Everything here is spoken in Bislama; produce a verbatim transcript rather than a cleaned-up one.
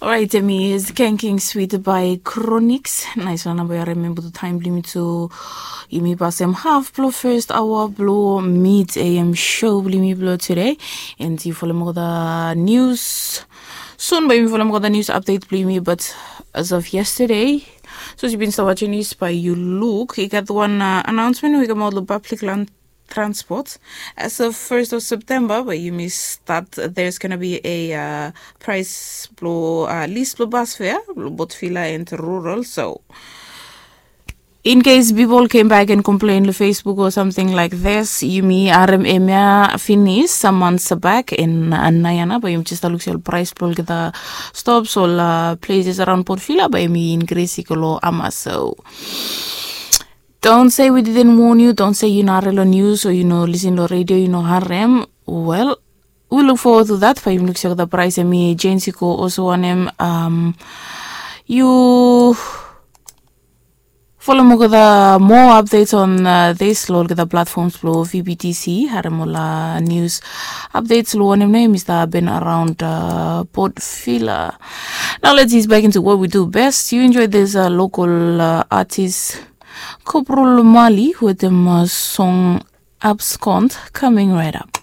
Orait, em is King King Sweet by Chronixx. Naisfala nao bae yu harim em blo taem blo yumi tu. Yumi pasem haf blo first hour blo mid A M show blo yumi blo today. And yu folem olgeta news. Soon bae yumi folem olgeta news update blo yumi, but as of yesterday, sapos yu bin stap watching news bae yu luk, i gat wan, uh, announcement we i kamaot lo public land transport. As of first of September, bae yumi start, there's gonna be a, uh, price blo, uh, lease blo bus fare blo Port Vila and rural. So in case people came back and complain lo Facebook or something like this, yumi harem hemia finis, some months back in, uh, naoia nao bae yumi jes luk se ol price blo olgeta stops, ol, uh, places around Port Vila, bae yumi increase i go lo hamas. So don't say we didn't warn you, don't say yu no harem lo news o yu no listen lo radio, yu no harem. Well, we look forward to that. Bae yumi luk se olgeta price, hemi Jane Siko also wantem, um, yu folem olgeta more updates on, uh, this lo olgeta platforms blo V B T C, harem ol, uh, news updates lo wanem nao hemi stap hapen around, uh, Port Vila. Now let's ease back into what we do best. You enjoy this, uh, local, uh, artist Koprol Mali wetem, uh, song Abscond coming right up.